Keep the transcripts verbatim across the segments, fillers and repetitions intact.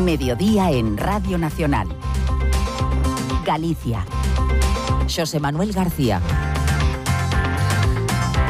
Mediodía en Radio Nacional. Galicia. Xosé Manuel García.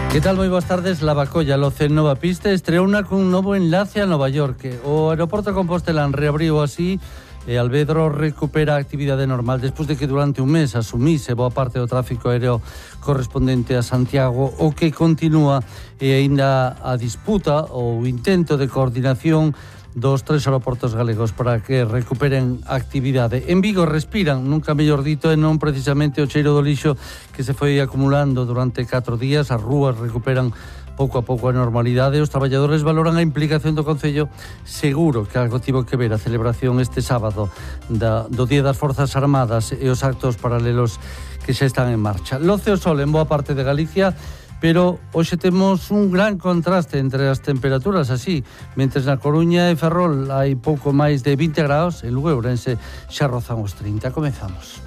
Que tal? Moi boas tardes. Lavacolla Loce Nova Pista estreouna cun novo enlace a Nova York. O aeroporto Compostela reabriu así e Alvedro recupera a actividade normal despois de que durante un mes asumise boa parte do tráfico aéreo correspondente a Santiago, o que continúa e aínda a disputa ou intento de coordinación dos tres aeroportos galegos para que recuperen a actividade. En Vigo respiran, nunca mellor dito, e non precisamente o cheiro do lixo que se foi acumulando durante catro días. As rúas recuperan pouco a pouco a normalidade. Os traballadores valoran a implicación do Concello. Seguro que algo tivo que ver a celebración este sábado da, do Día das Forzas Armadas e os actos paralelos que xa están en marcha. Loce o sol en boa parte de Galicia, pero hoxe temos un gran contraste entre as temperaturas, así, mentres na Coruña e Ferrol hai pouco máis de vinte graus, en Lugo e Ourense xa rozan os trinta. Comezamos.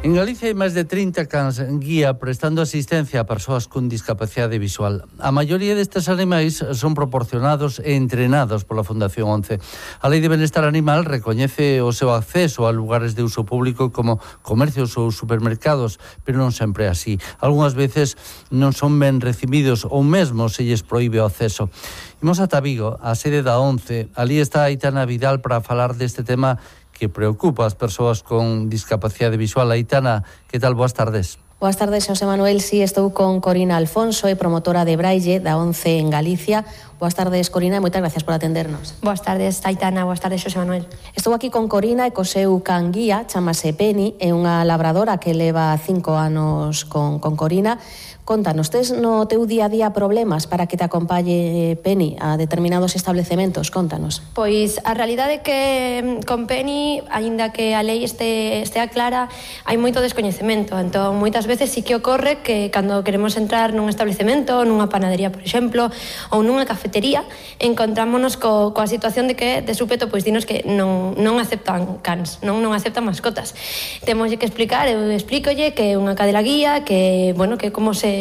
En Galicia hai máis de trinta cans guía prestando asistencia a persoas con discapacidade visual. A maioría destes animais son proporcionados e entrenados pola Fundación once. A Lei de Benestar Animal recoñece o seu acceso a lugares de uso público como comercios ou supermercados, pero non sempre é así. Algúnas veces non son ben recibidos ou mesmo se lles proíbe o acceso. Imos ata Vigo, a sede da once. Ali está Aitana Vidal para falar deste tema que preocupa as persoas con discapacidade visual. Aitana, que tal? Boas tardes. Boas tardes, Xosé Manuel. Si, estou con Corina Alfonso, é promotora de Braille da once en Galicia. Boas tardes, Corina, e moitas gracias por atendernos. Boas tardes, Aitana. Boas tardes, Xosé Manuel. Estou aquí con Corina e co seu can guía, chamase Penny, é unha labradora que leva cinco anos con, con Corina. Contanos, tes no teu día a día problemas para que te acompañe Penny a determinados establecementos? Contanos. Pois a realidade é que con Penny, aínda que a lei este, estea clara, hai moito descoñecemento. Entón, moitas veces sí que ocorre que cando queremos entrar nun establecemento, nunha panadería, por exemplo, ou nunha cafetería, encontrámonos co, coa situación de que de súpeto pois dinos que non, non aceptan cans, non, non aceptan mascotas. Temoslle que explicar, eu explícolle que é unha cadela guía, que, bueno, que como se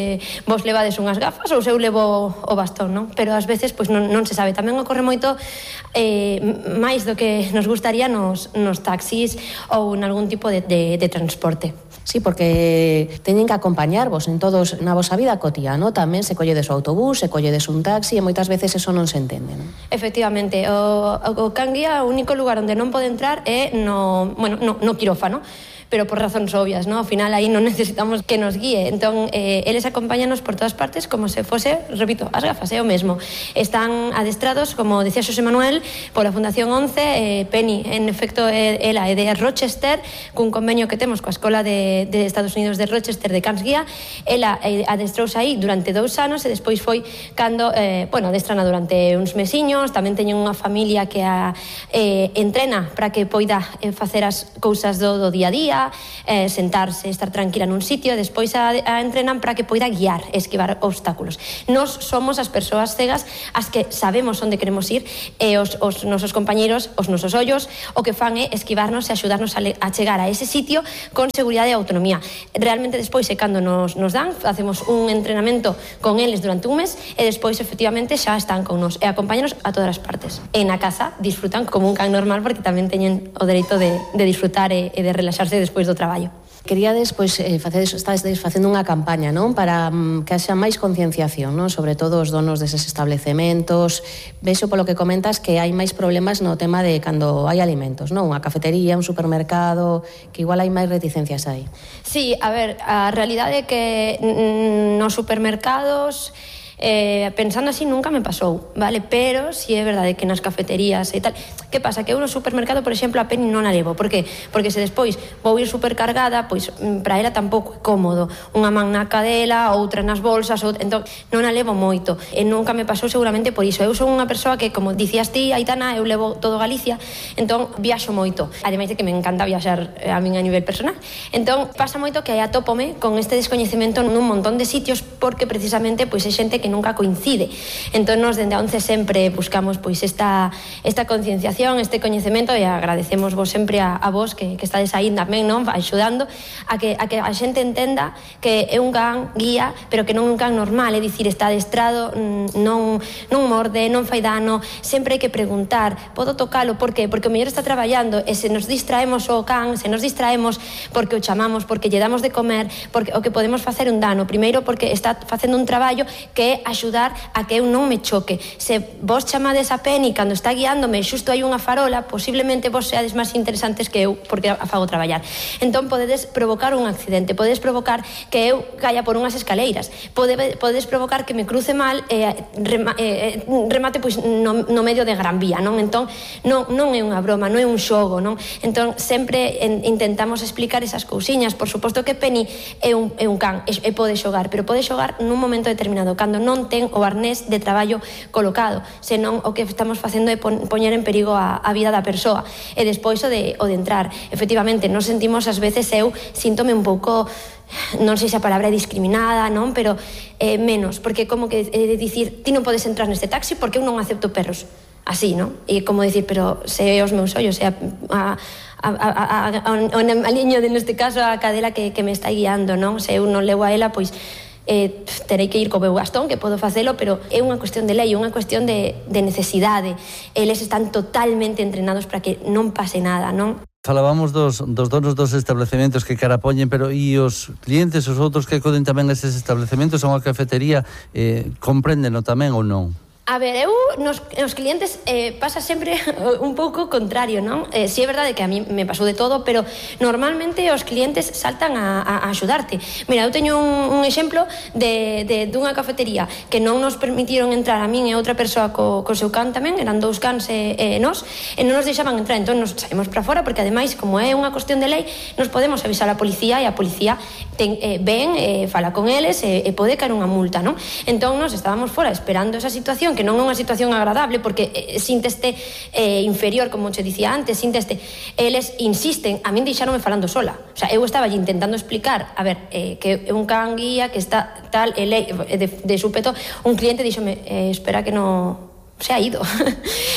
vos levades unhas gafas ou se eu levo o bastón, non? Pero ás veces pois non, non se sabe. Tamén ocorre moito eh, máis do que nos gustaría nos, nos taxis ou en algún tipo de, de, de transporte. Sí, porque teñen que acompañarvos en todos na vosa vida cotidiana, tamén se colledes o autobús, se colledes un taxi e moitas veces eso non se entende, non? Efectivamente, o, o can guía, o único lugar onde non pode entrar é no, bueno, no, no quirófano, pero por razóns obvias, ¿no? Ao final aí non necesitamos que nos guíe. Entón, eh, eles acompáñanos por todas partes como se fose, repito, as gafas, é o mesmo. Están adestrados, como decía Xosé Manuel, pola Fundación once. eh, Penny, en efecto, é, ela é de Rochester, cun convenio que temos coa Escola de, de Estados Unidos de Rochester de Cans Guía. Ela eh, adestrouse aí durante dous anos e despois foi cando, eh, bueno, adestrana durante uns mesiños. Tamén teñen unha familia que a eh, entrena para que poida eh, facer as cousas do, do día a día, Eh, sentarse, estar tranquila nun sitio, despois a, a entrenan para que poida guiar e esquivar obstáculos. Nos somos as persoas cegas as que sabemos onde queremos ir e os, os nosos compañeiros, os nosos ollos, o que fan é esquivarnos e axudarnos a, le, a chegar a ese sitio con seguridade e autonomía. Realmente despois é cando nos, nos dan, facemos un entrenamento con eles durante un mes e despois efectivamente xa están con nos e acompáñanos a todas as partes. E na casa disfrutan como un can normal porque tamén teñen o dereito de, de disfrutar e, e de relaxarse despois do traballo. Queríades, pois, eh, facedes, estades facendo unha campaña, non? Para mm, que haxa máis concienciación, non? Sobre todo os donos deses establecementos. Vexo polo que comentas que hai máis problemas no tema de cando hai alimentos, non? Unha cafetería, un supermercado, que igual hai máis reticencias aí. Sí, a ver, a realidade é que mm, nos supermercados Eh, pensando así nunca me pasou, vale? Pero si é verdade que nas cafeterías e tal. Que pasa? Que eu no supermercado, por exemplo, a Penny non a levo. Por que? Porque se despois vou ir supercargada, pois para ela tampouco é cómodo. Unha man na cadela, outra nas bolsas, outra... entón non a levo moito. E nunca me pasou seguramente por iso. Eu son unha persoa que, como dicías ti, Aitana, eu levo todo Galicia, entón viaxo moito. Ademais de que me encanta viaxar a min a nivel personal. Entón pasa moito que aí atópome con este descoñecemento nun montón de sitios porque precisamente pois é xente que nunca coincide. Entón, nos dende a once sempre buscamos pois esta, esta concienciación, este coñecemento, e agradecemos vos sempre a, a vos que, que estades aí tamén, non? Axudando a que, a que a xente entenda que é un can guía, pero que non é un can normal, é dicir, está adestrado, non, non morde, non fai dano, sempre hai que preguntar, podo tocalo, por que? Porque o mellor está traballando e se nos distraemos o can, se nos distraemos porque o chamamos, porque lle damos de comer, porque o que podemos facer un dano, primeiro porque está facendo un traballo que é axudar a que eu non me choque. Se vos chamades a Penny cando está guiándome e xusto hai unha farola, posiblemente vos seades máis interesantes que eu porque a fago traballar. Entón podedes provocar un accidente, podedes provocar que eu caia por unhas escaleiras, Pode, podedes provocar que me cruce mal e eh, rema, eh, remate pois no, no medio de Gran Vía, non? Entón non, non é unha broma, non é un xogo, non? Entón sempre en, intentamos explicar esas cousiñas. Por suposto que Penny é un, é un can e, e pode xogar, pero pode xogar nun momento determinado, cando non ten o arnés de traballo colocado, senón o que estamos facendo é pon, poñer en perigo a, a vida da persoa. E despois o de, o de entrar, efectivamente, nos sentimos ás veces, eu síntome un pouco, non sei se a palabra é discriminada, non? Pero eh, menos, porque como que eh, dicir, ti non podes entrar neste taxi porque eu non acepto perros. Así, non? E como dicir, pero se os meus ollos, se a, a, a, a, a, a, a liño de, neste caso, a cadela que, que me está guiando, non? Se eu non levo a ela, pois eh, terei que ir co meu bastón, que podo facelo, pero é unha cuestión de lei, unha cuestión de, de necesidade. Eles están totalmente entrenados para que non pase nada, non? Falábamos dos, dos donos dos establecementos que carapoñen, pero e os clientes, os outros que acoden tamén a eses establecementos, a unha cafetería, eh, compréndeno tamén ou non? A ver, eu nos, nos clientes eh, pasa sempre un pouco contrario, non? Eh, si é verdade que a mí me pasou de todo, pero normalmente os clientes saltan a, a, a axudarte. Mira, eu teño un, un exemplo de, de dunha cafetería que non nos permitiron entrar a min e outra persoa co, co seu can tamén, eran dous cans e, e nós, e non nos deixaban entrar, entón nos saímos para fora, porque ademais, como é unha cuestión de lei, nos podemos avisar a policía e a policía ten, eh, ven, eh, fala con eles e, e pode caer unha multa, non? Entón nos estábamos fora esperando esa situación, que non é unha situación agradable, porque eh, sínteste eh, inferior, como che dicía antes, sínteste, eles insisten, a min deixaronme falando sola, o sea, eu estaba intentando explicar, a ver, eh, que é un can guía, que está tal, ele, de, de súpeto, un cliente díxome, eh, espera que no se ha ido.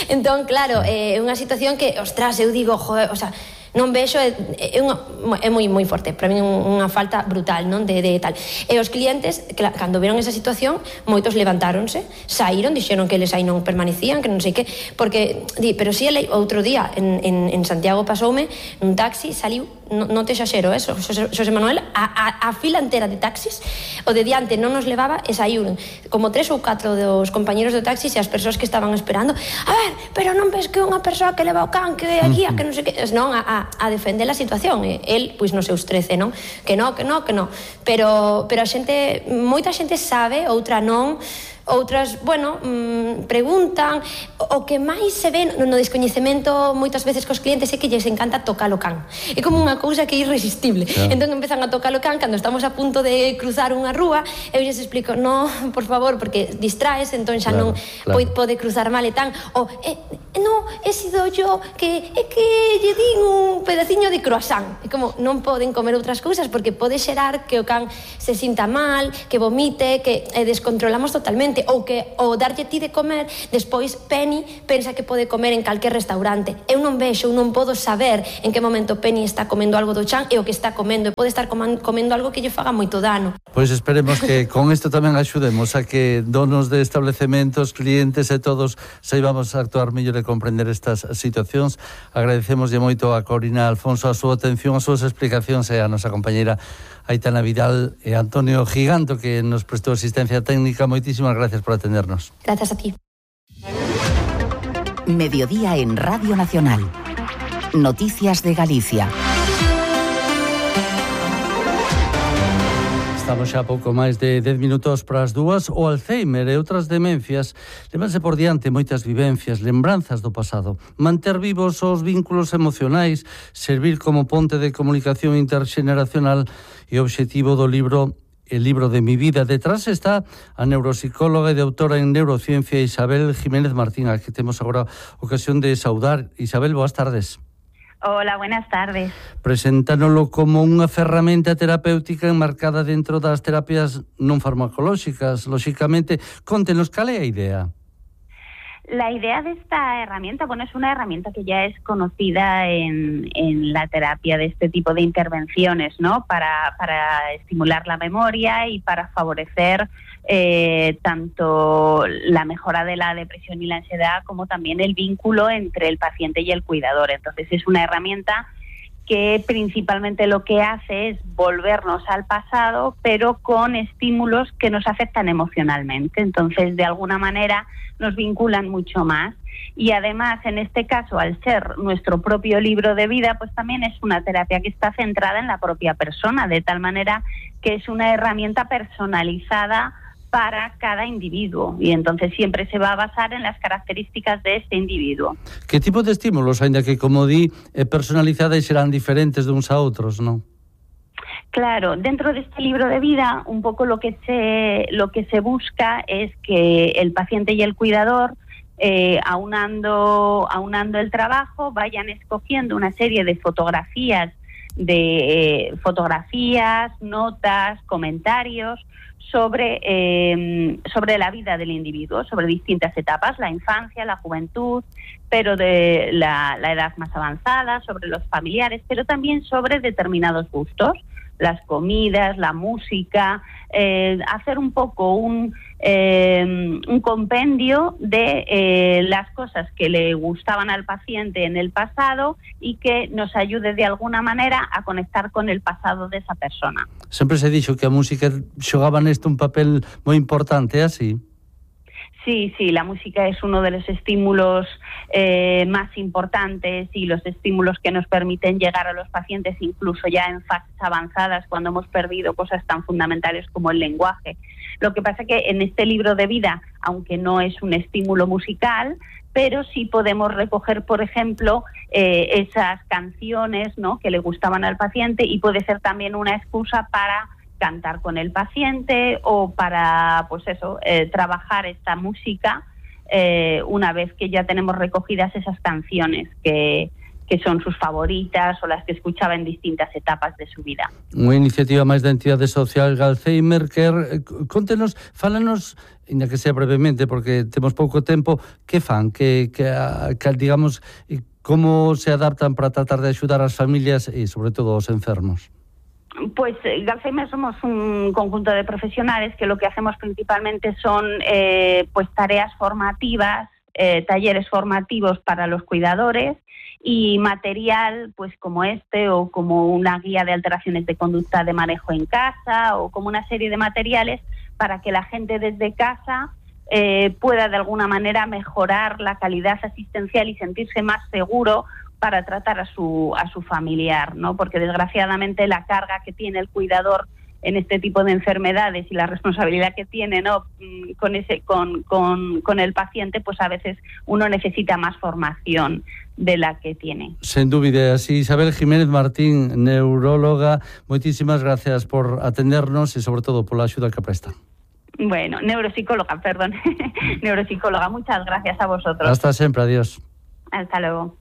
Entón, claro, é eh, unha situación que, ostras, eu digo, joder, o sea, non vexo, é, é, unha, é moi moi forte, para mí unha falta brutal, non, de, de tal. E os clientes, que, cando viron esa situación, moitos levantáronse, saíron, dixeron que eles aí non permanecían, que non sei que, porque, di, pero si ele, outro día en, en, en Santiago pasoume, nun taxi, saliu, non, non te xaxero, eso, Xosé, Xosé Manuel, a, a, a fila entera de taxis, o de diante non nos levaba, e saíron como tres ou catro dos compañeros do taxi e as persoas que estaban esperando, a ver, pero non ves que é unha persoa que leva o can, que é a guía, que non sei que, non, a, a a defender a situación, e el, pois, nos seus trece, non? Que non, que non, que non. Pero, pero a xente, moita xente sabe, outra non, outras, bueno, mmm, preguntan. O que máis se ve no descoñecemento moitas veces cos clientes é que lles encanta tocar o can. É como unha cousa que é irresistible. Claro. Entón empezan a tocar o can cando estamos a punto de cruzar unha rúa, eu lles explico, no, por favor, porque distraes, entón xa claro, non claro. pode cruzar mal e tan. O, eh, no, he sido yo que é que lle din un pedaciño de croissant. É como, non poden comer outras cousas porque pode xerar que o can se sinta mal, que vomite, que eh, descontrolamos totalmente. Ou que o darlle ti de comer, despois Penny pensa que pode comer en calquer restaurante. Eu non vexo, eu non podo saber en que momento Penny está comendo algo do chan e o que está comendo, e pode estar comendo algo que lle faga moito dano. Pois esperemos que con isto tamén axudemos a que donos de establecementos, clientes e todos saibamos actuar mellor e comprender estas situacións. Agradecemoslle moito a Corina Alfonso a súa atención, as súas explicacións e a nosa compañeira Aitana Vidal e Antonio Giganto, que nos prestou asistencia técnica. Moitísimas gracias por atendernos. Gracias a ti. Mediodía en Radio Nacional. Noticias de Galicia. Estamos xa pouco máis de dez minutos para as dúas. O Alzheimer e outras demencias levanse por diante moitas vivencias, lembranzas do pasado. Manter vivos os vínculos emocionais, servir como ponte de comunicación interxeneracional e o obxectivo do libro El libro de mi vida. Detrás está a neuropsicóloga e doutora en neurociencia Isabel Jiménez Martín, a que temos agora ocasión de saudar. Isabel, boas tardes. Hola, buenas tardes. Preséntanolo como unha ferramenta terapéutica enmarcada dentro das terapias non farmacolóxicas. Lóxicamente, contenos, cal é a idea? La idea de esta herramienta, bueno, es una herramienta que ya es conocida en, en la terapia de este tipo de intervenciones, ¿no? Para, para estimular la memoria y para favorecer eh, tanto la mejora de la depresión y la ansiedad como también el vínculo entre el paciente y el cuidador. Entonces es una herramienta que principalmente lo que hace es volvernos al pasado, pero con estímulos que nos afectan emocionalmente. Entonces, de alguna manera, nos vinculan mucho más. Y además, en este caso, al ser nuestro propio libro de vida, pues también es una terapia que está centrada en la propia persona, de tal manera que es una herramienta personalizada para cada individuo, y entonces siempre se va a basar en las características de este individuo. Que tipo de estímulos, ainda que, como di, é personalizada e serán diferentes de uns a outros, non? Claro, dentro de este libro de vida, un poco lo que se, lo que se busca es que el paciente y el cuidador, eh, aunando, aunando el trabajo, vayan escogiendo una serie de fotografías, de eh, fotografías, notas, comentarios, sobre, eh, sobre la vida del individuo, sobre distintas etapas, la infancia, la juventud, pero de la, la edad más avanzada, sobre los familiares, pero también sobre determinados gustos, las comidas, la música, eh, hacer un poco un, eh, un compendio de eh, las cosas que le gustaban al paciente en el pasado y que nos ayude de alguna manera a conectar con el pasado de esa persona. Sempre se dixo que a música xogaba neste un papel moi importante, é así? Sí, sí, la música es uno de los estímulos eh, más importantes y los estímulos que nos permiten llegar a los pacientes incluso ya en fases avanzadas cuando hemos perdido cosas tan fundamentales como el lenguaje. Lo que pasa es que en este libro de vida, aunque no es un estímulo musical, pero sí podemos recoger, por ejemplo, eh, esas canciones, ¿no?, que le gustaban al paciente, y puede ser también una excusa para cantar con el paciente o para, pues eso, eh, trabajar esta música eh, una vez que ya tenemos recogidas esas canciones que, que son sus favoritas o las que escuchaba en distintas etapas de su vida. Unha iniciativa máis da entidade social Alzheimer Care. Contenos, fálanos, ainda que sea brevemente, porque temos pouco tempo, que fan, que, que, que digamos, como se adaptan para tratar de axudar as familias e, sobre todo, aos enfermos. Pues Alzheimer somos un conjunto de profesionales que lo que hacemos principalmente son eh, pues tareas formativas, eh, talleres formativos para los cuidadores y material pues como este o como una guía de alteraciones de conducta de manejo en casa o como una serie de materiales para que la gente desde casa eh, pueda de alguna manera mejorar la calidad asistencial y sentirse más seguro para tratar a su a su familiar, ¿no? Porque desgraciadamente la carga que tiene el cuidador en este tipo de enfermedades y la responsabilidad que tiene, ¿no?, con ese con con con el paciente, pues a veces uno necesita más formación de la que tiene. Sen dúbida, así. Isabel Jiménez Martín, neuróloga, moitísimas gracias por atendernos e sobre todo pola axuda que presta. Bueno, neuropsicóloga, perdón. Neuropsicóloga, muchas gracias a vosotros. Hasta sempre, adiós. Hasta luego.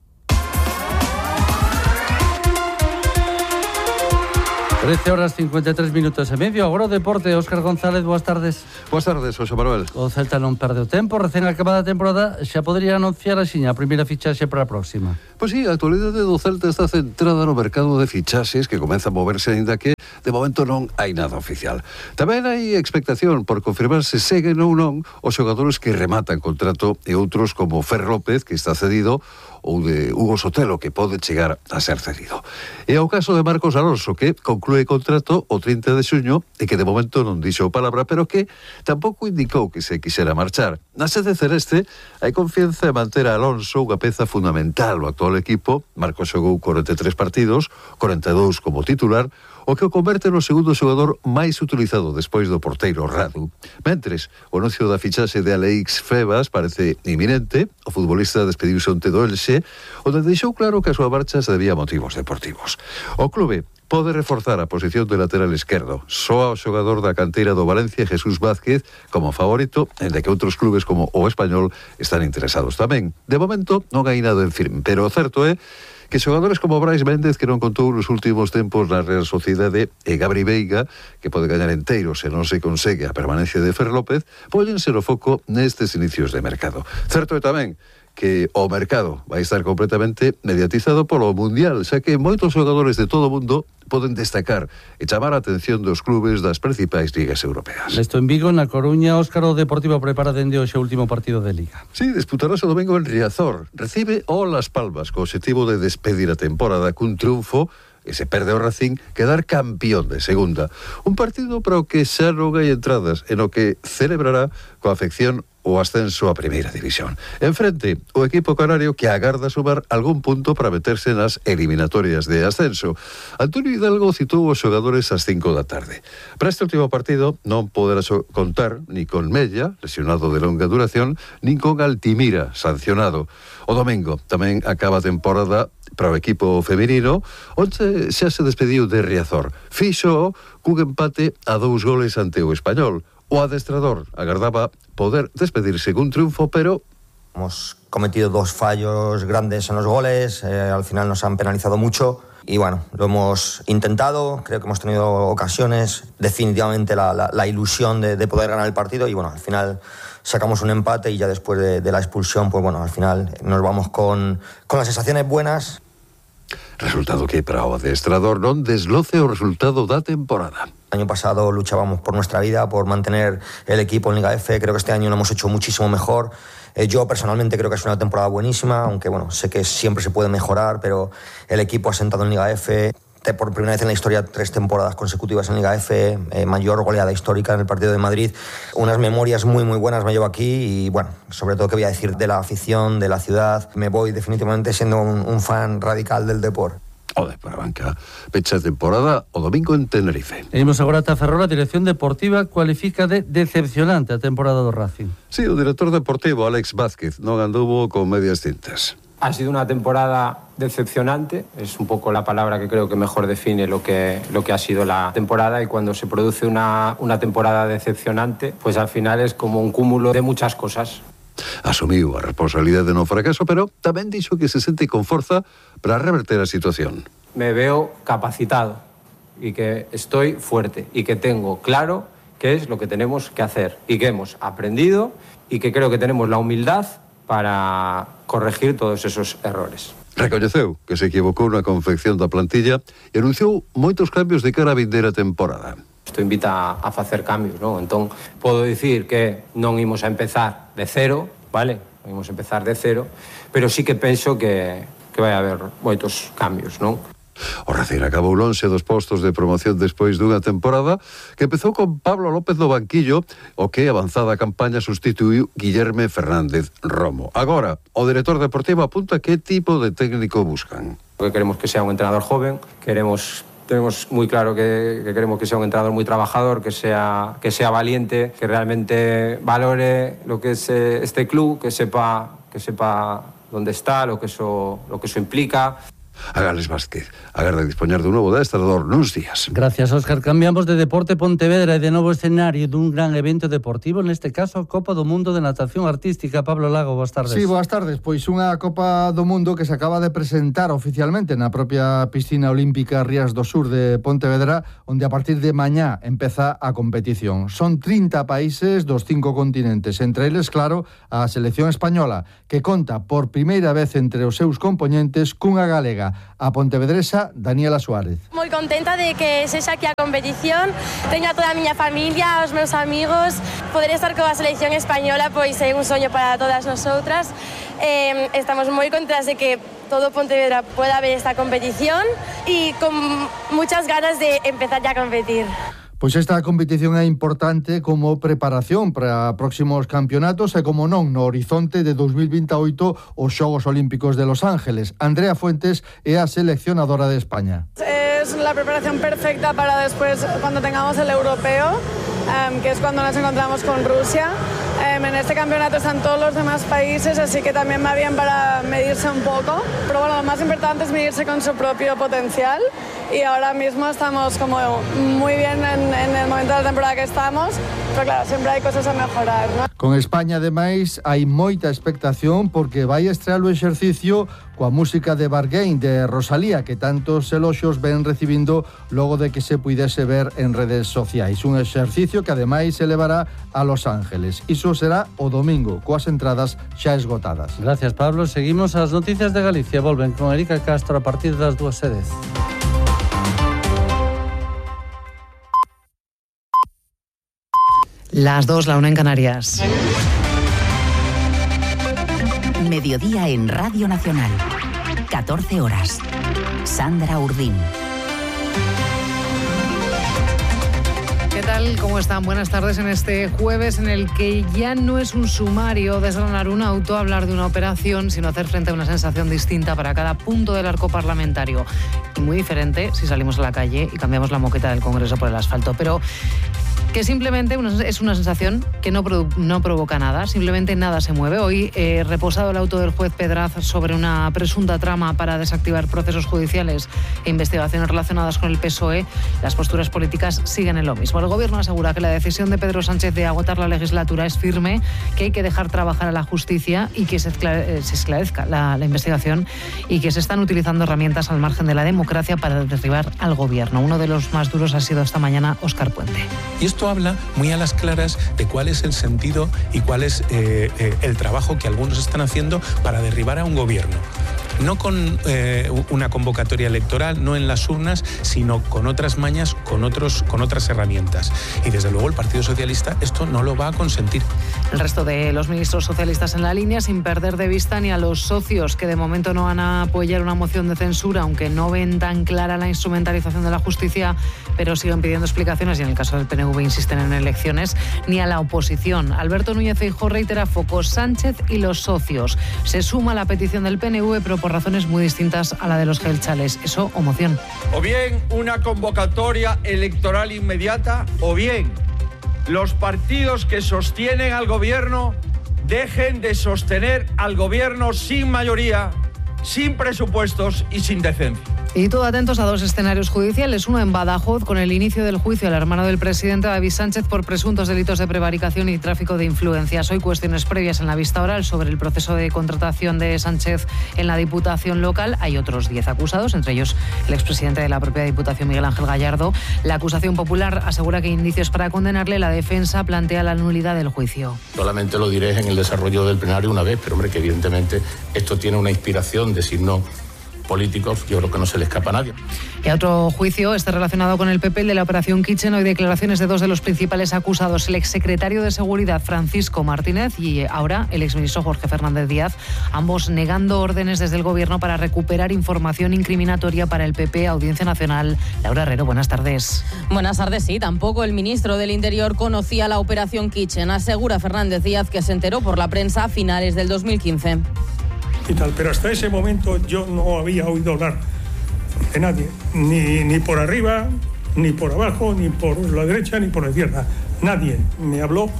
trece horas cincuenta e tres minutos e medio. Agora o deporte. Óscar González, boas tardes. Boas tardes, José Manuel. O Celta non perde o tempo. Recén acabada a temporada xa podería anunciar axiña a primeira fichaxe para a próxima. Pois sí, a actualidade do Celta está centrada no mercado de fichaxes que comeza a moverse, ainda que de momento non hai nada oficial. Tamén hai expectación por confirmar se seguen ou non os xogadores que rematan contrato e outros como Fer López, que está cedido, ou de Hugo Sotelo, que pode chegar a ser cedido. E ao caso de Marcos Alonso, que conclúe contrato o trinta de xuño e que de momento non dixo palabra, pero que tampouco indicou que se quixera marchar. Na sede celeste hai confianza en manter a Alonso, unha peza fundamental no actual equipo. Marcos xogou corenta e tres partidos, corenta e dous como titular, o que o converte no segundo xogador máis utilizado despois do porteiro Radu. Mentres, o anuncio da fichaxe de Alex Febas parece inminente. O futbolista despediuse onte do Elxe, onde deixou claro que a súa marcha se debía a motivos deportivos. O clube pode reforzar a posición de lateral esquerdo. Soa o xogador da canteira do Valencia, Jesús Vázquez, como favorito, en de que outros clubes como o Español están interesados tamén. De momento non hai nada en firme, pero o certo é que xogadores como Brais Méndez, que non contou nos últimos tempos na Real Sociedade, e Gabri Veiga, que pode gañar enteiro se non se consegue a permanencia de Fer López, póñense no foco nestes inicios de mercado. Certo é tamén que o mercado vai estar completamente mediatizado polo Mundial, xa que moitos xogadores de todo o mundo poden destacar e chamar a atención dos clubes das principais ligas europeas. Nesto en Vigo, na Coruña, Óscar, o Deportivo prepara dende hoxe o último partido de Liga. Sí, disputará o domingo en Riazor. Recibe o Las Palmas, co objetivo de despedir a temporada cun triunfo e se perde o Racing, quedar campeón de segunda. Un partido para o que xa non hai entradas, en o que celebrará coa afección o ascenso a Primeira División. Enfrente, o equipo canario que agarda sumar algún punto para meterse nas eliminatorias de ascenso. Antonio Hidalgo citou os xogadores ás cinco da tarde. Para este último partido non poderá contar ni con Mella, lesionado de longa duración, nin con Altimira, sancionado. O domingo tamén acaba a temporada para o equipo feminino, onde xa se despediu de Riazor. Fixo cun empate a dous goles ante o Español. O adestrador agardaba poder despedirse cun triunfo, pero hemos cometido dos fallos grandes en los goles, eh, al final nos han penalizado mucho y bueno, lo hemos intentado, creo que hemos tenido ocasiones, definitivamente la, la, la ilusión de, de poder ganar el partido y bueno, al final sacamos un empate y ya después de, de la expulsión, pues bueno, al final nos vamos con, con las sensaciones buenas. Resultado que para o adestrador non desloce o resultado da temporada. El año pasado luchábamos por nuestra vida, por mantener el equipo en Liga F. Creo que este año lo hemos hecho muchísimo mejor. Eh, yo personalmente creo que es una temporada buenísima, aunque bueno, sé que siempre se puede mejorar, pero el equipo ha sentado en Liga F. Por primera vez en la historia, tres temporadas consecutivas en Liga F, eh, mayor goleada histórica en el partido de Madrid. Unas memorias muy, muy buenas me llevo aquí y, bueno, sobre todo, ¿qué voy a decir de la afición, de la ciudad? Me voy definitivamente siendo un, un fan radical del deporte. O de para banca, pecha temporada o domingo en Tenerife. Imos agora ata Ferrol. A dirección deportiva cualifica de decepcionante a temporada do Racing. Sí, o director deportivo Alex Vázquez non anduvo con medias tintas. Ha sido una temporada decepcionante, es un poco la palabra que creo que mejor define lo que, lo que ha sido la temporada, y cuando se produce una, una temporada decepcionante, pues al final es como un cúmulo de muchas cosas. Asumiu a responsabilidade no fracaso, pero tamén dixo que se sente con forza para reverter a situación. Me veo capacitado y que estoy fuerte y que tengo claro qué es lo que tenemos que hacer y que hemos aprendido y que creo que tenemos la humildad para corregir todos esos errores. Recoñeceu que se equivocou na confección da plantilla e anunciou moitos cambios de cara a vindeira temporada. Isto invita a facer cambios, non? Entón, podo dicir que non imos a empezar de cero, vale? Non imos a empezar de cero, pero sí que penso que, que vai haber moitos cambios, non? O Racing acabou lonxe dos postos de promoción despois dunha temporada que empezou con Pablo López no banquillo, o que avanzada a campaña sustituiu Guillerme Fernández Romo. Agora, o director deportivo apunta que tipo de técnico buscan. Que queremos que sea un entrenador joven, queremos tenemos muy claro que, que queremos que sea un entrenador muy trabajador, que sea, que sea valiente, que realmente valore lo que es este club, que sepa, que sepa dónde está, lo que eso, lo que eso implica. A Alex Vázquez agarda dispoñar dun novo adestrador nuns días. Gracias, Óscar. Cambiamos de Deporte Pontevedra e de novo escenario dun gran evento deportivo, neste caso a Copa do Mundo de Natación Artística. Pablo Lago, boas tardes. Sí, boas tardes. Pois unha Copa do Mundo que se acaba de presentar oficialmente na propia piscina olímpica Rías do Sur de Pontevedra, onde a partir de mañá empeza a competición. Son trinta países dos cinco continentes, entre eles, claro, a selección española, que conta por primeira vez entre os seus compoñentes cunha galega, a pontevedresa Daniela Suárez. Moi contenta de que sexa aquí a competición, teño a toda a miña familia, os meus amigos, poder estar coa selección española pois é un soño para todas nosotras. Eh, estamos moi contentas de que todo Pontevedra pueda ver esta competición e con muchas ganas de empezar ya a competir. Pois esta competición é importante como preparación para próximos campeonatos e, como non, no horizonte de dos mil veintiocho os Xogos Olímpicos de Los Ángeles. Andrea Fuentes é a seleccionadora de España. Es la preparación perfecta para después, cuando tengamos el europeo, um, que es cuando nos encontramos con Rusia. Um, en este campeonato están todos los demás países, así que también va bien para medirse un poco. Pero bueno, lo más importante es medirse con su propio potencial y ahora mismo estamos como muy bien en, en el momento de la temporada que estamos, pero claro, siempre hay cosas a mejorar, ¿no? Con España, ademais, hai moita expectación porque vai estrear o exercicio coa música de Bargain de Rosalía, que tantos eloxos ven recibindo logo de que se puidese ver en redes sociais. Un exercicio que ademais se levará a Los Ángeles. Iso será o domingo, coas entradas xa esgotadas. Gracias, Pablo. Seguimos as noticias de Galicia. Volven con Erika Castro a partir das dúas e dez. Las dos, la una en Canarias. Mediodía en Radio Nacional. catorce horas. Sandra Urdín. ¿Qué tal? ¿Cómo están? Buenas tardes en este jueves en el que ya no es un sumario desgranar un auto, hablar de una operación, sino hacer frente a una sensación distinta para cada punto del arco parlamentario. Y muy diferente si salimos a la calle y cambiamos la moqueta del Congreso por el asfalto. Pero que simplemente una, es una sensación que no, produ, no provoca nada, simplemente nada se mueve. Hoy, eh, reposado el auto del juez Pedraz sobre una presunta trama para desactivar procesos judiciales e investigaciones relacionadas con el P S O E, las posturas políticas siguen en lo mismo. El Gobierno asegura que la decisión de Pedro Sánchez de agotar la legislatura es firme, que hay que dejar trabajar a la justicia y que se, esclare, se esclarezca la, la investigación y que se están utilizando herramientas al margen de la democracia para derribar al Gobierno. Uno de los más duros ha sido esta mañana Óscar Puente. Y esto habla muy a las claras de cuál es el sentido y cuál es eh, eh, el trabajo que algunos están haciendo para derribar a un gobierno. No con eh, una convocatoria electoral, no en las urnas, sino con otras mañas, con, otros, con otras herramientas. Y desde luego el Partido Socialista esto no lo va a consentir. El resto de los ministros socialistas en la línea, sin perder de vista ni a los socios que de momento no van a apoyar una moción de censura, aunque no ven tan clara la instrumentalización de la justicia, pero siguen pidiendo explicaciones y en el caso del P N V insisten en elecciones, ni a la oposición. Alberto Núñez Feijóo reitera focos Sánchez y los socios. Se suma a la petición del P N V, pero por razones muy distintas a la de los gelchales. Eso o moción. O bien una convocatoria electoral inmediata, o bien los partidos que sostienen al gobierno dejen de sostener al gobierno sin mayoría, sin presupuestos y sin decencia. Y todo atentos a dos escenarios judiciales, uno en Badajoz con el inicio del juicio al hermano del presidente David Sánchez por presuntos delitos de prevaricación y tráfico de influencias. Hoy cuestiones previas en la vista oral sobre el proceso de contratación de Sánchez en la Diputación local. Hay otros diez acusados, entre ellos el expresidente de la propia Diputación, Miguel Ángel Gallardo. La acusación popular asegura que hay indicios para condenarle. La defensa plantea la nulidad del juicio. Solamente lo diré en el desarrollo del plenario una vez, pero hombre, que evidentemente esto tiene una inspiración de signo políticos, yo creo que no se le escapa a nadie. Y a otro juicio está relacionado con el P P, el de la operación Kitchen. Hoy declaraciones de dos de los principales acusados, el exsecretario de Seguridad Francisco Martínez y ahora el exministro Jorge Fernández Díaz, ambos negando órdenes desde el Gobierno para recuperar información incriminatoria para el P P. Audiencia Nacional. Laura Herrero, buenas tardes. Buenas tardes, sí. Tampoco el ministro del Interior conocía la operación Kitchen. Asegura Fernández Díaz que se enteró por la prensa a finales del dos mil quince. Y tal, pero hasta ese momento yo no había oído hablar de nadie, ni, ni por arriba, ni por abajo, ni por la derecha, ni por la izquierda. Nadie me habló,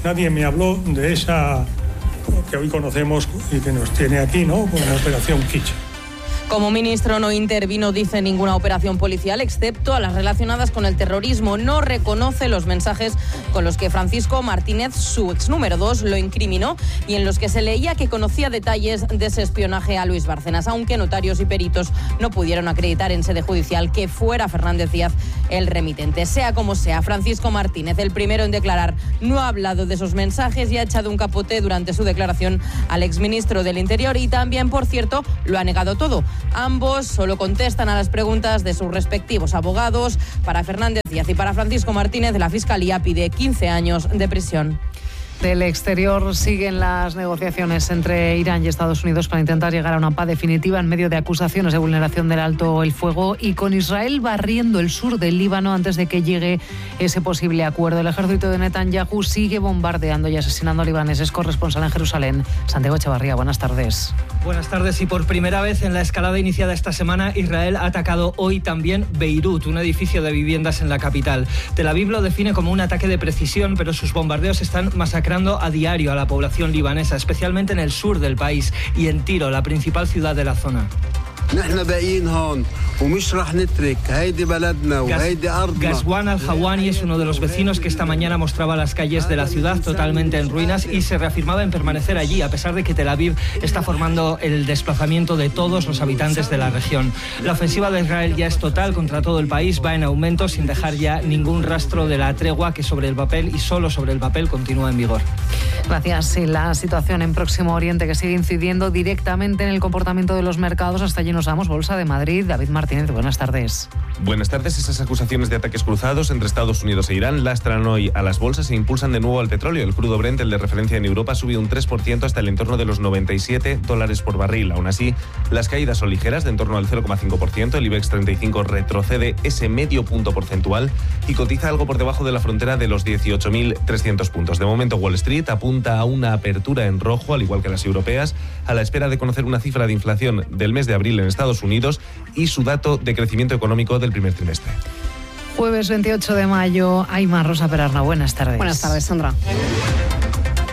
nadie me habló de esa que hoy conocemos y que nos tiene aquí, ¿no?, con la operación Kitchen. Como ministro no intervino, dice, ninguna operación policial, excepto a las relacionadas con el terrorismo. No reconoce los mensajes con los que Francisco Martínez, su ex número dos, lo incriminó y en los que se leía que conocía detalles de ese espionaje a Luis Bárcenas, aunque notarios y peritos no pudieron acreditar en sede judicial que fuera Fernández Díaz el remitente. Sea como sea, Francisco Martínez, el primero en declarar, no ha hablado de esos mensajes y ha echado un capote durante su declaración al exministro del Interior y también, por cierto, lo ha negado todo. Ambos solo contestan a las preguntas de sus respectivos abogados. Para Fernández Díaz y para Francisco Martínez, la Fiscalía pide quince años de prisión. Del exterior siguen las negociaciones entre Irán y Estados Unidos para intentar llegar a una paz definitiva en medio de acusaciones de vulneración del alto el fuego y con Israel barriendo el sur del Líbano antes de que llegue ese posible acuerdo. El ejército de Netanyahu sigue bombardeando y asesinando a libaneses. Corresponsal en Jerusalén, Santiago Echevarría, buenas tardes. Buenas tardes. Y por primera vez en la escalada iniciada esta semana, Israel ha atacado hoy también Beirut, un edificio de viviendas en la capital. Tel Aviv lo define como un ataque de precisión, pero sus bombardeos están masacrando a diario a la población libanesa, especialmente en el sur del país y en Tiro, la principal ciudad de la zona. Ghazwan Al-Hawani es uno de los vecinos que esta mañana mostraba las calles de la ciudad totalmente en ruinas y se reafirmaba en permanecer allí, a pesar de que Tel Aviv está formando el desplazamiento de todos los habitantes de la región. La ofensiva de Israel ya es total contra todo el país, va en aumento sin dejar ya ningún rastro de la tregua que sobre el papel y solo sobre el papel continúa en vigor. Gracias. Y la situación en Próximo Oriente que sigue incidiendo directamente en el comportamiento de los mercados. Hasta allí nos vamos. Bolsa de Madrid. David Martínez, buenas tardes. Buenas tardes. Esas acusaciones de ataques cruzados entre Estados Unidos e Irán lastran hoy a las bolsas e impulsan de nuevo al petróleo. El crudo Brent, el de referencia en Europa, subió un tres por ciento hasta el entorno de los noventa y siete dólares por barril. Aún así, las caídas son ligeras, de en torno al cero coma cinco por ciento. El IBEX treinta y cinco retrocede ese medio punto porcentual y cotiza algo por debajo de la frontera de los dieciocho mil trescientos puntos. De momento, Wall Street apunta a una apertura en rojo, al igual que las europeas, a la espera de conocer una cifra de inflación del mes de abril en Estados Unidos y su dato de crecimiento económico del primer trimestre. Jueves veintiocho de mayo, Aymar Rosa Perarna, buenas tardes. Buenas tardes, Sandra.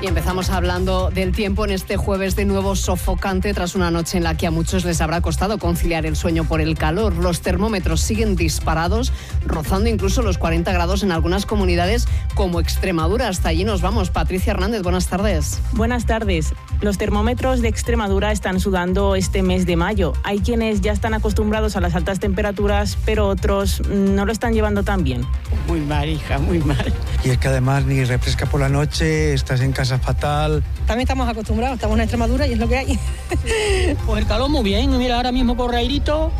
Y empezamos hablando del tiempo en este jueves de nuevo sofocante tras una noche en la que a muchos les habrá costado conciliar el sueño por el calor. Los termómetros siguen disparados, rozando incluso los cuarenta grados en algunas comunidades como Extremadura. Hasta allí nos vamos. Patricia Hernández, buenas tardes. Buenas tardes. Los termómetros de Extremadura están sudando este mes de mayo. Hay quienes ya están acostumbrados a las altas temperaturas, pero otros no lo están llevando tan bien. Muy mal, hija, muy mal. Y es que además ni refresca por la noche, estás en casa fatal. También estamos acostumbrados, estamos en Extremadura y es lo que hay. Pues el calor muy bien, mira, ahora mismo corre airito,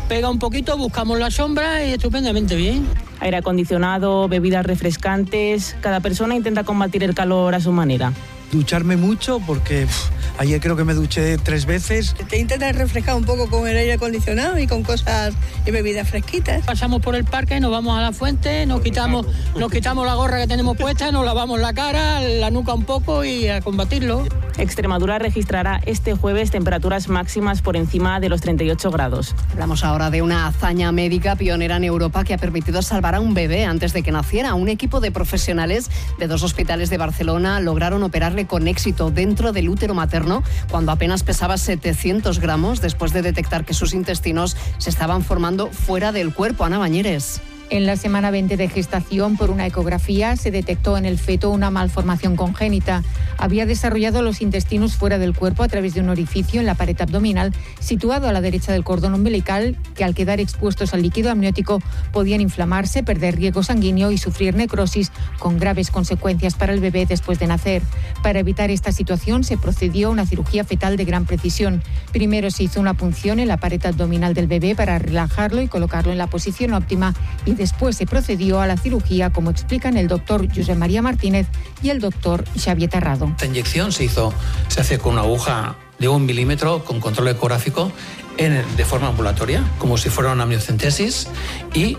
pega un poquito, buscamos la sombra y estupendamente bien. Aire acondicionado, bebidas refrescantes, cada persona intenta combatir el calor a su manera. Ducharme mucho porque pff, ayer creo que me duché tres veces. Te intentas refrescar un poco con el aire acondicionado y con cosas y bebidas fresquitas. Pasamos por el parque, nos vamos a la fuente, nos quitamos, nos quitamos la gorra que tenemos puesta, nos lavamos la cara, la nuca un poco y a combatirlo. Extremadura registrará este jueves temperaturas máximas por encima de los treinta y ocho grados. Hablamos ahora de una hazaña médica pionera en Europa que ha permitido salvar a un bebé antes de que naciera. Un equipo de profesionales de dos hospitales de Barcelona lograron operarle con éxito dentro del útero materno cuando apenas pesaba setecientos gramos después de detectar que sus intestinos se estaban formando fuera del cuerpo. Ana Bañeres. En la semana veinte de gestación, por una ecografía, se detectó en el feto una malformación congénita. Había desarrollado los intestinos fuera del cuerpo a través de un orificio en la pared abdominal situado a la derecha del cordón umbilical, que al quedar expuestos al líquido amniótico podían inflamarse, perder riego sanguíneo y sufrir necrosis, con graves consecuencias para el bebé después de nacer. Para evitar esta situación se procedió a una cirugía fetal de gran precisión. Primero se hizo una punción en la pared abdominal del bebé para relajarlo y colocarlo en la posición óptima, y después se procedió a la cirugía, como explican el doctor Josep María Martínez y el doctor Xavier Terrado. Esta inyección se hizo, se hace con una aguja de un milímetro con control ecográfico en, de forma ambulatoria, como si fuera una amniocentesis, y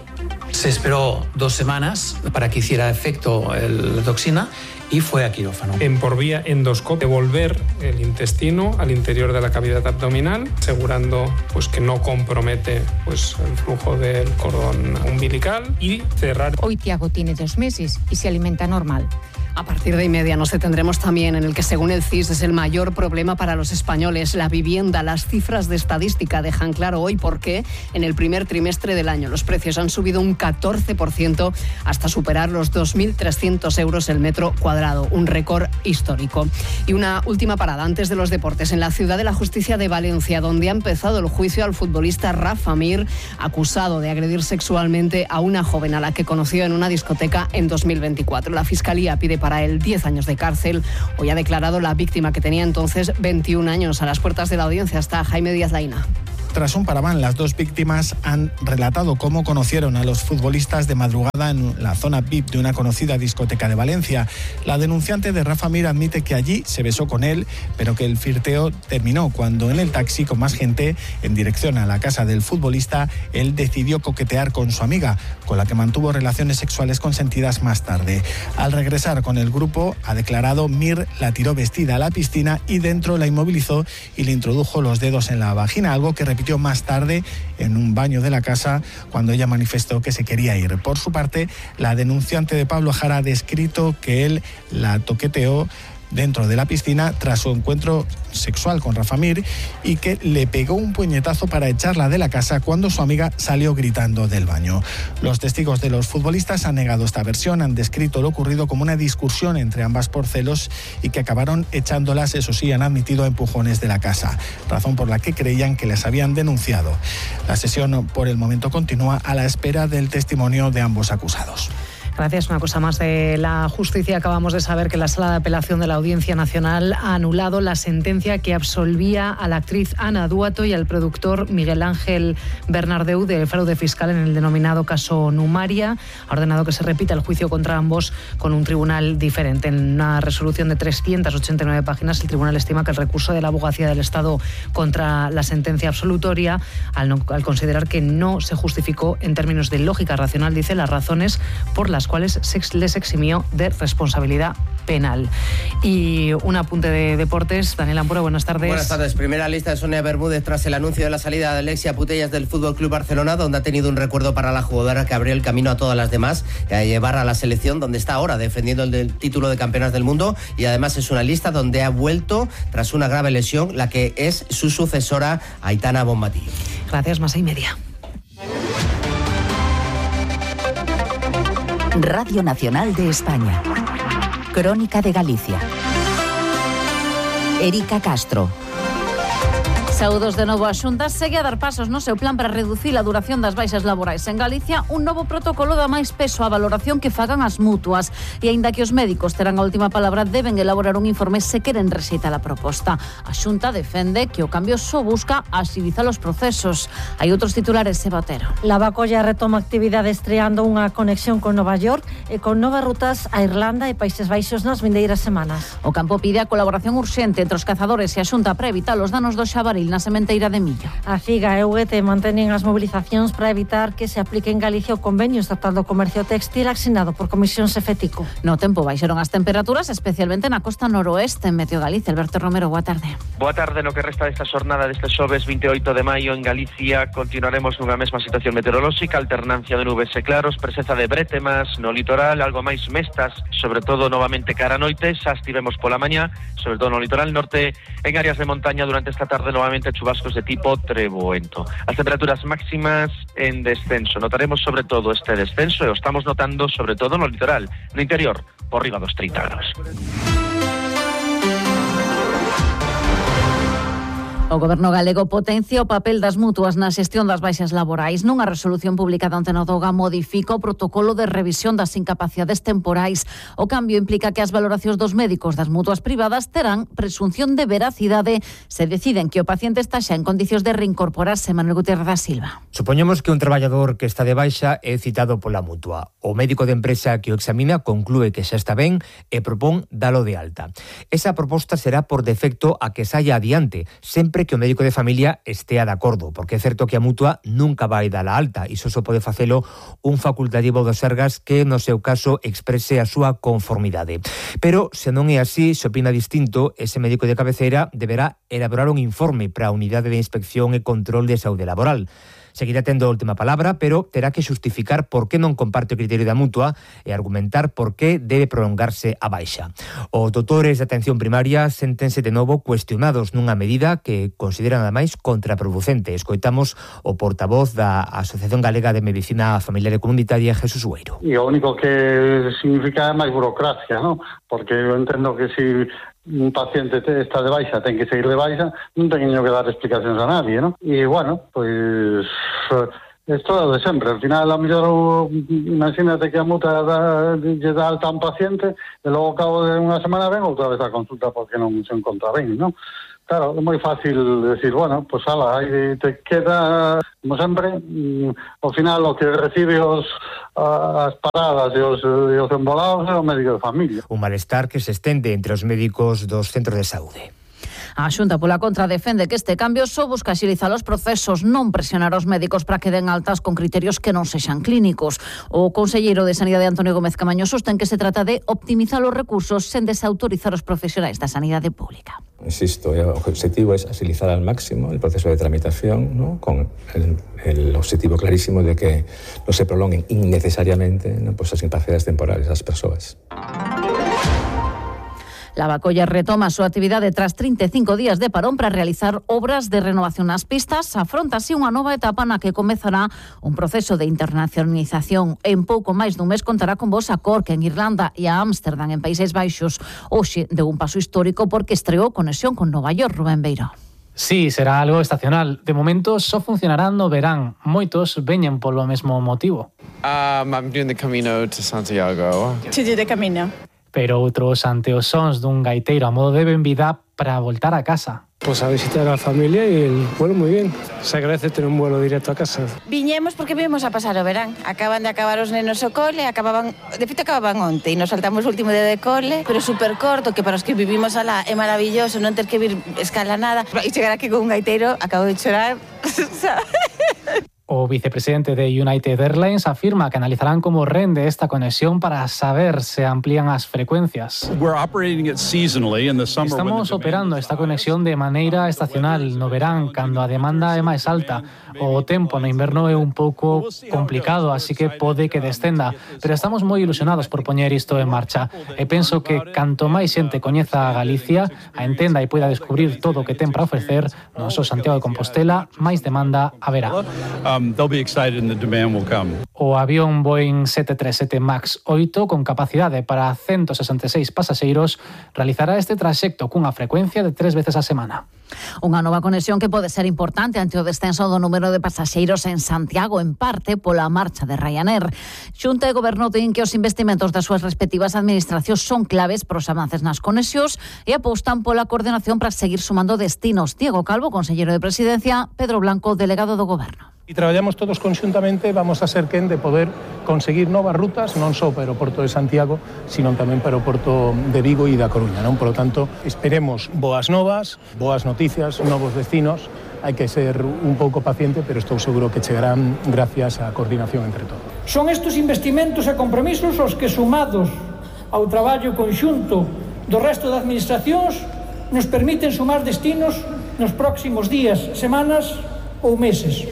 se esperó dos semanas para que hiciera efecto el, la toxina y fue a quirófano. En por vía endoscópica, devolver el intestino al interior de la cavidad abdominal, asegurando pues, que no compromete pues, el flujo del cordón umbilical y cerrar. Hoy Tiago tiene dos meses y se alimenta normal. A partir de y media nos detendremos también en el que, según el C I S, es el mayor problema para los españoles, la vivienda. Las cifras de estadística dejan claro hoy por qué en el primer trimestre del año los precios han subido un catorce por ciento hasta superar los dos mil trescientos euros el metro cuadrado, un récord histórico. Y una última parada antes de los deportes, en la Ciudad de la Justicia de Valencia, donde ha empezado el juicio al futbolista Rafa Mir, acusado de agredir sexualmente a una joven a la que conoció en una discoteca en dos mil veinticuatro. La Fiscalía pide para él diez años de cárcel. Hoy ha declarado la víctima, que tenía entonces veintiún años. A las puertas de la audiencia está Jaime Díaz Laína. Tras un paraván, las dos víctimas han relatado cómo conocieron a los futbolistas de madrugada en la zona V I P de una conocida discoteca de Valencia. La denunciante de Rafa Mir admite que allí se besó con él, pero que el flirteo terminó cuando en el taxi con más gente en dirección a la casa del futbolista, él decidió coquetear con su amiga, con la que mantuvo relaciones sexuales consentidas más tarde. Al regresar con el grupo, ha declarado, Mir la tiró vestida a la piscina y dentro la inmovilizó y le introdujo los dedos en la vagina, algo que repitió más tarde en un baño de la casa cuando ella manifestó que se quería ir. Por su parte, la denunciante de Pablo Jara ha descrito que él la toqueteó dentro de la piscina tras su encuentro sexual con Rafa Mir y que le pegó un puñetazo para echarla de la casa cuando su amiga salió gritando del baño. Los testigos de los futbolistas han negado esta versión, han descrito lo ocurrido como una discusión entre ambas por celos y que acabaron echándolas, eso sí, han admitido empujones de la casa, razón por la que creían que les habían denunciado. La sesión por el momento continúa a la espera del testimonio de ambos acusados. Gracias. Una cosa más de la justicia. Acabamos de saber que la Sala de Apelación de la Audiencia Nacional ha anulado la sentencia que absolvía a la actriz Ana Duato y al productor Miguel Ángel Bernardeu del fraude fiscal en el denominado caso Numaria. Ha ordenado que se repita el juicio contra ambos con un tribunal diferente. En una resolución de trescientas ochenta y nueve páginas, el tribunal estima que el recurso de la Abogacía del Estado contra la sentencia absolutoria, al, no, al considerar que no se justificó en términos de lógica racional, dice, las razones por las cuales se les eximió de responsabilidad penal. Y un apunte de deportes. Daniel Ampura, buenas tardes. Buenas tardes. Primera lista de Sonia Bermúdez tras el anuncio de la salida de Alexia Putellas del F C Barcelona, donde ha tenido un recuerdo para la jugadora que abrió el camino a todas las demás, a llevar a la selección, donde está ahora defendiendo el del título de campeonas del mundo, y además es una lista donde ha vuelto tras una grave lesión la que es su sucesora, Aitana Bonmatí. Gracias, más y media. Radio Nacional de España. Crónica de Galicia. Erika Castro. Saúdos de novo. A Xunta segue a dar pasos no seu plan para reducir a duración das baixas laborais en Galicia. Un novo protocolo dá máis peso á valoración que fagan as mutuas. E aínda que os médicos terán a última palabra, deben elaborar un informe se queren rexeitar a proposta. A Xunta defende que o cambio só busca axilizar os procesos. Hai outros titulares, Eva Otero. Lavacolla retoma actividade estreando unha conexión con Nova York e con novas rutas a Irlanda e Países Baixos nas vindeiras semanas. O campo pide a colaboración urxente entre os cazadores e a Xunta para evitar os danos do xabaril na sementeira de Millo. A Figa e o U G T mantenen as mobilizacións para evitar que se aplique en Galicia o convenio estatal do comercio textil asinado por Comisión Cefetico. No tempo baixaron as temperaturas, especialmente na costa noroeste en Meteo Galicia. Alberto Romero, boa tarde. Boa tarde. No que resta desta xornada deste xoves vinte e oito de maio en Galicia continuaremos nunha mesma situación meteorolóxica, alternancia de nubes e claros, presenza de brétemas no litoral, algo máis mestas, sobre todo novamente cara a noite, xa estivemos pola mañá, sobre todo no litoral norte, en áreas de montaña durante esta tarde novamente chubascos de tipo treboento. As temperaturas máximas en descenso. Notaremos sobre todo este descenso e o estamos notando sobre todo no litoral, no interior, por riba dos trinta grados. O Goberno galego potencia o papel das mutuas na xestión das baixas laborais. Nunha resolución publicada onte no Doga modifica o protocolo de revisión das incapacidades temporais. O cambio implica que as valoracións dos médicos das mutuas privadas terán presunción de veracidade se deciden que o paciente está xa en condicións de reincorporarse. Manuel Gutiérrez da Silva. Supoñemos que un traballador que está de baixa é citado pola mutua. O médico de empresa que o examina conclúe que xa está ben e propón dalo de alta. Esa proposta será por defecto a que saia adiante, sempre que o médico de familia estea de acordo, porque é certo que a mutua nunca vai dar a alta, e só pode facelo un facultativo do Sergas que, no seu caso, exprese a súa conformidade. Pero, se non é así, se opina distinto, ese médico de cabeceira deberá elaborar un informe para a Unidade de Inspección e Control de Saúde Laboral. Seguirá tendo a última palabra, pero terá que xustificar por que non comparte o criterio da mutua e argumentar por que debe prolongarse a baixa. Os doutores de atención primaria séntense de novo cuestionados nunha medida que consideran ademais contraproducente. Escoitamos o portavoz da Asociación Galega de Medicina Familiar e Comunitaria, Jesús Ueiro. E o único que significa é máis burocracia, ¿no? Porque eu entendo que si un paciente está de baixa, ten que seguir de baixa, non teño que dar explicacións a nadie, ¿no? E, bueno, pois es todo de sempre. Al final, a mellor, imagínate que a muta da, lle dá alta a un paciente e logo ao cabo de unha semana ven outra vez a consulta porque non se encontra ben, ¿no? Claro, é moi fácil decir, bueno, pois pues, ala, aí te queda, como sempre, ao final o que recibe os, as paradas e os, e os embolados é o médico de familia. Un malestar que se estende entre os médicos dos centros de saúde. A Xunta, pola contra, defende que este cambio só busca axilizar os procesos, non presionar os médicos para que den altas con criterios que non sexan clínicos. O conselleiro de Sanidade, Antonio Gómez Camaño, sostén que se trata de optimizar os recursos sen desautorizar os profesionais da sanidade pública. Insisto, el objetivo es agilizar al máximo el proceso de tramitación, ¿no? Con el, el objetivo clarísimo de que no se prolonguen innecesariamente, ¿no? Pues las incapacidades temporales de las personas. Lavacolla retoma a súa actividade tras trinta e cinco días de parón para realizar obras de renovación nas pistas. Afronta así unha nova etapa na que comezará un proceso de internacionalización. En pouco máis dun mes contará con voz a Cork en Irlanda e a Ámsterdam en Países Baixos. Hoxe deu un paso histórico porque estreou conexión con Nova York. Rubén Beiro. Sí, será algo estacional. De momento só funcionarán no verán. Moitos veñen polo mesmo motivo. Um, I'm doing the Camino to Santiago. To do the Camino. Pero outros ante os sons dun gaiteiro a modo de benvida para voltar a casa. Pues a visitar a la familia y el vuelo muy bien. Se agradece tener un vuelo directo a casa. Viñemos porque vimos a pasar o verán. Acaban de acabar os nenos o cole, acababan, de feito acababan onte e nos saltamos o último día de cole, pero super corto, que para os que vivimos alá é maravilloso non ter que vir escala nada. E chegar aquí con un gaiteiro, acabo de chorar, ¿sabes? O vicepresidente de United Airlines afirma que analizarán como rende esta conexión para saber se amplían as frecuencias. Estamos operando esta conexión de maneira estacional no verán, cando a demanda é máis alta. O tempo no inverno é un pouco complicado, así que pode que descenda, pero estamos moi ilusionados por poñer isto en marcha. E penso que canto máis xente coñeza a Galicia, a entenda e poida descubrir todo o que ten para ofrecer, no noso Santiago de Compostela, máis demanda haberá. Um, they'll be excited and the demand will come. O avión Boeing sete tres sete MAX oito con capacidade para ciento sesenta e seis pasaxeiros realizará este traxecto cunha frecuencia de tres veces a semana. Unha nova conexión que pode ser importante ante o descenso do número de pasaxeiros en Santiago, en parte pola marcha de Ryanair. Xunta e Goberno din que os investimentos das súas respectivas administracións son claves para os avances nas conexións e apostan pola coordinación para seguir sumando destinos. Diego Calvo, conselleiro de Presidencia, Pedro Blanco, delegado do Goberno. E traballamos todos conxuntamente, vamos a ser quen de poder conseguir novas rutas, non só para o Porto de Santiago, sino tamén para o Porto de Vigo e da Coruña, non? Por lo tanto, esperemos boas novas, boas noticias, novos destinos. Hai que ser un pouco paciente, pero estou seguro que chegarán gracias á coordinación entre todos. Son estes investimentos e compromisos os que, sumados ao traballo conxunto do resto das administracións, nos permiten sumar destinos nos próximos días, semanas ou meses.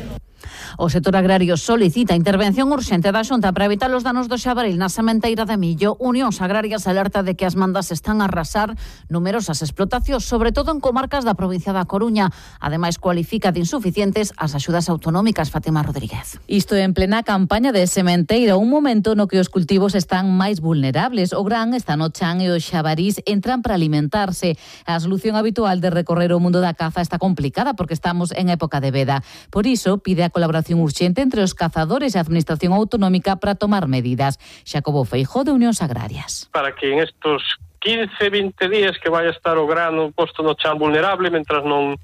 O sector agrario solicita intervención urxente da Xunta para evitar os danos do xabaril na sementeira de millo. Unións Agrarias alerta de que as mandas están a arrasar numerosas explotacións, sobre todo en comarcas da provincia da Coruña. Ademais, cualifica de insuficientes as axudas autonómicas. Fátima Rodríguez. Isto en plena campaña de sementeira, un momento no que os cultivos están máis vulnerables. O gran está no chan e os xabarís entran para alimentarse. A solución habitual de recorrer o mundo da caza está complicada porque estamos en época de veda. Por iso, pide a colaboración urxente entre os cazadores e a Administración Autonómica para tomar medidas. Xacobo Feijóo, de Unións Agrarias. Para que en estos quince, vinte días que vai a estar o grano posto no chan vulnerable, mentras non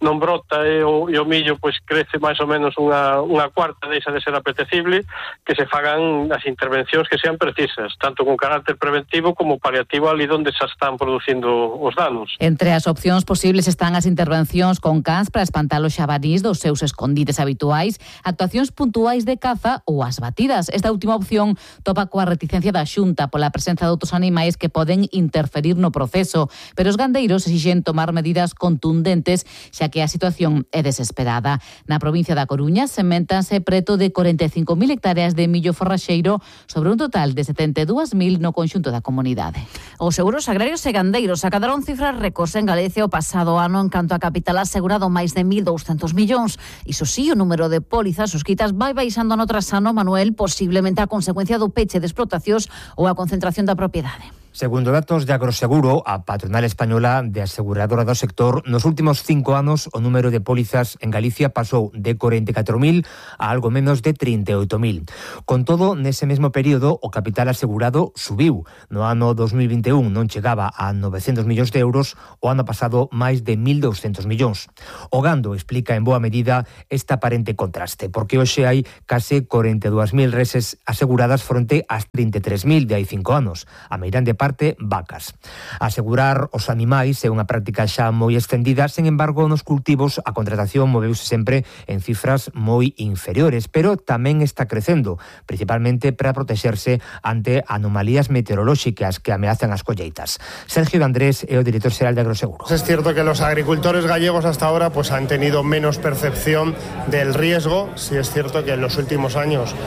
non brota e o, e o millo pois crece máis ou menos unha, unha cuarta, deixa de ser apetecible, que se fagan as intervencións que sean precisas, tanto con carácter preventivo como paliativo ali onde se están producindo os danos. Entre as opcións posibles están as intervencións con cans para espantar os xabarís dos seus escondites habituais, actuacións puntuais de caza ou as batidas. Esta última opción topa coa reticencia da Xunta pola presenza de outros animais que poden interferir no proceso, pero os gandeiros exixen tomar medidas contundentes, xa que a situación é desesperada. Na provincia da Coruña sementanse preto de corenta e cinco mil hectáreas de millo forraxeiro sobre un total de setenta e dúas mil no conxunto da comunidade. Os seguros agrarios e gandeiros acadaron cifras récords en Galicia o pasado ano en canto a capital asegurado máis de mil douscentos millóns. Iso sí, o número de pólizas suscritas vai baixando no tras ano, Manuel, posiblemente a consecuencia do peche de explotacións ou a concentración da propiedade. Segundo datos de Agroseguro, a patronal española de aseguradora do sector, nos últimos cinco anos o número de pólizas en Galicia pasou de corenta e catro mil a algo menos de trinta e oito mil. Con todo, nese mesmo período, o capital asegurado subiu. No ano dos mil vinte e un non chegaba a novecentos millóns de euros, o ano pasado máis de mil douscentos millóns. O gando explica en boa medida este aparente contraste, porque hoxe hai case corenta e dúas mil reses aseguradas fronte ás trinta e tres mil de hai cinco anos. A meirande parte, vacas. Asegurar os animais é unha práctica xa moi extendida, sen embargo, nos cultivos a contratación moveuse sempre en cifras moi inferiores, pero tamén está crecendo, principalmente para protexerse ante anomalías meteorolóxicas que ameazan as colleitas. Sergio de Andrés é o director xeral de Agroseguro. Es cierto que los agricultores gallegos hasta ahora pues han tenido menos percepción del riesgo. Sí es cierto que en los últimos años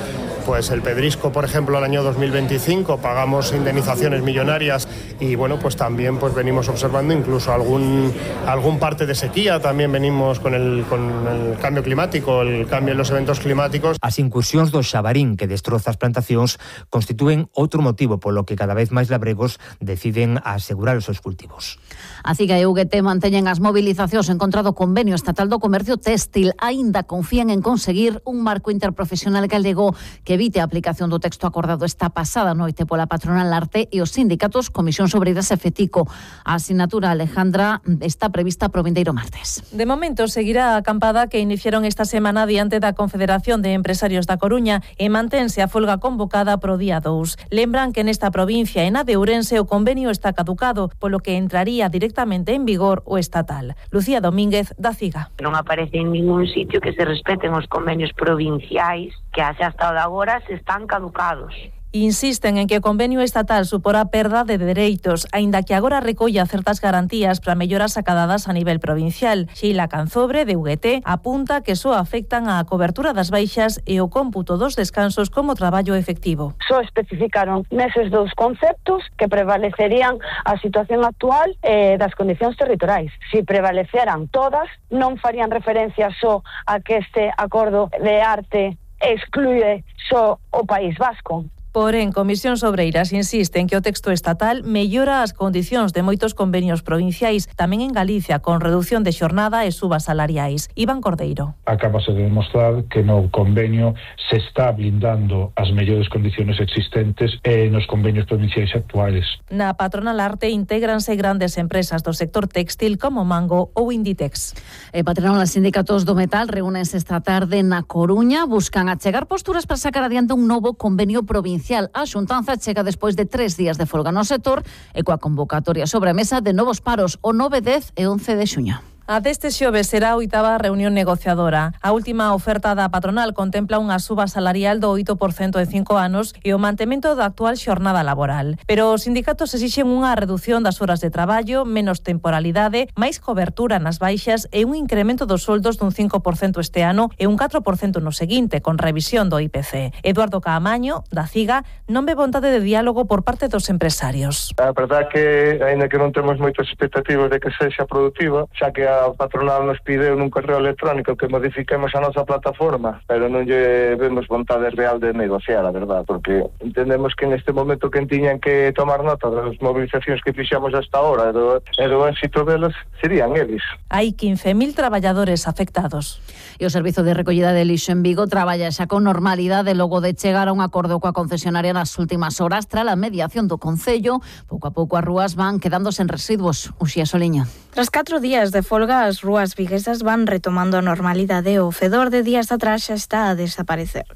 Pues el Pedrisco, por ejemplo, el año dos mil veinticinco pagamos indemnizaciones millonarias y bueno, pues también pues venimos observando incluso algún, algún parte de sequía, también venimos con el, con el cambio climático, el cambio en los eventos climáticos. As incursións do xabarín que destroza as plantacións constitúen outro motivo polo que cada vez máis labregos deciden asegurar os seus cultivos. A CIGA e U G T manteñen as movilizacións en contra do convenio estatal do comercio téxtil. Aínda confían en conseguir un marco interprofesional galego que evite a aplicación do texto acordado esta pasada noite pola patronal Arte e os sindicatos Comisións Obreiras e FETICO. A asignatura, Alejandra, está prevista para o vindeiro martes. De momento seguirá a acampada que iniciaron esta semana diante da Confederación de Empresarios da Coruña e mantense a folga convocada pro día dous. Lembran que nesta provincia e na de Ourense o convenio está caducado, polo que entraría directamente en vigor o estatal. Lucía Domínguez, da CIGA. Non aparece en ningún sitio que se respeten os convenios provinciais que hace hasta agora se están caducados. Insisten en que o convenio estatal suporá perda de dereitos, aínda que agora recolla certas garantías para melloras acadadas a nivel provincial. Sheila Canzobre, de U G T, apunta que só afectan a cobertura das baixas e o cómputo dos descansos como traballo efectivo. Só especificaron neses dous conceptos que prevalecerían a situación actual eh, das condicións territoriais. Si prevaleceran todas, non farían referencia só a que este acordo de arte exclúe só o País Vasco. Porén, Comisións Obreiras insiste en que o texto estatal mellora as condicións de moitos convenios provinciais, tamén en Galicia, con reducción de xornada e subas salariais. Iván Cordeiro. Acabase de demostrar que no convenio se está blindando as mellores condicións existentes e nos convenios provinciais actuales. Na patronal Arte intégranse grandes empresas do sector textil como Mango ou Inditex. E patronal e sindicatos do metal reúnense esta tarde na Coruña, buscan achegar posturas para sacar adiante un novo convenio provincial. A xuntanza chega despois de tres días de folga no sector e coa convocatoria sobre a mesa de novos paros o nove, dez e once de xuño. A deste xoves será a oitava reunión negociadora. A última oferta da patronal contempla unha suba salarial do oito por cento en cinco anos e o mantemento da actual xornada laboral. Pero os sindicatos exixen unha reducción das horas de traballo, menos temporalidade, máis cobertura nas baixas e un incremento dos soldos dun cinco por cento este ano e un catro por cento no seguinte, con revisión do I P C. Eduardo Caamaño, da CIGA, non ve vontade de diálogo por parte dos empresarios. A verdade que, aínda que non temos moitas expectativas de que sexa produtiva, xa que a patronal nos pide nun correo electrónico que modifiquemos a nosa plataforma, pero non lle vemos vontade real de negociar, a verdade, porque entendemos que neste momento quen tiñan que tomar nota das movilizacións que fixamos hasta ahora e do, e do éxito delas serían eles. Hai quince mil traballadores afectados. E o Servizo de Recollida de Lixo en Vigo traballa xa con normalidade logo de chegar a un acordo coa concesionaria nas últimas horas tras a mediación do Concello. Pouco a pouco as rúas van quedándose en residuos. Uxía Soliña. Tras catro días de folga, as rúas viguesas van retomando a normalidade. O fedor de días atrás xa está a desaparecer.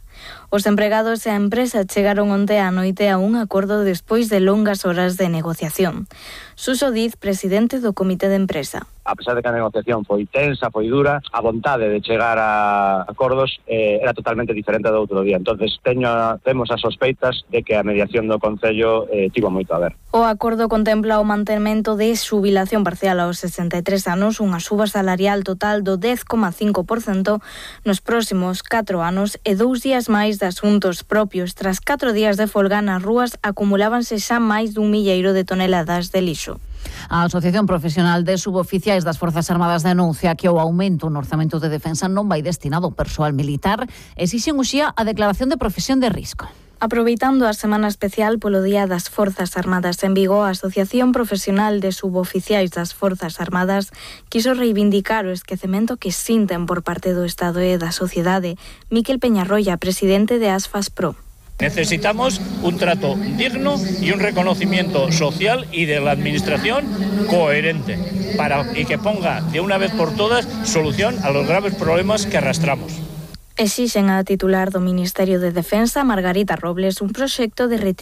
Os empregados e a empresa chegaron onte á noite a un acordo despois de longas horas de negociación. Suso Diz, presidente do Comité de Empresa. A pesar de que a negociación foi tensa, foi dura, a vontade de chegar a acordos eh, era totalmente diferente do outro día. Entonces teño, temos as sospeitas de que a mediación do Concello eh, tivo moito a ver. O acordo contempla o mantemento de xubilación parcial aos sesenta e tres anos, unha suba salarial total do dez coma cinco por cento nos próximos catro anos e dous días máis de asuntos propios. Tras catro días de folga nas rúas acumulábanse xa máis dun milleiro de toneladas de lixo. A Asociación Profesional de Suboficiais das Forzas Armadas denuncia que o aumento no orzamento de defensa non vai destinado ao persoal militar. Exixen uxía a declaración de profesión de risco. Aproveitando a semana especial polo Día das Forzas Armadas en Vigo, a Asociación Profesional de Suboficiais das Forzas Armadas quiso reivindicar o esquecemento que sinten por parte do Estado e da sociedade. Miquel Peñarroya, presidente de ASFAS Pro. Necesitamos un trato digno y un reconocimiento social y de la administración coherente para y que ponga de una vez por todas solución a los graves problemas que arrastramos. Exixen a titular do Ministerio de Defensa, Margarita Robles, un proxecto de retribución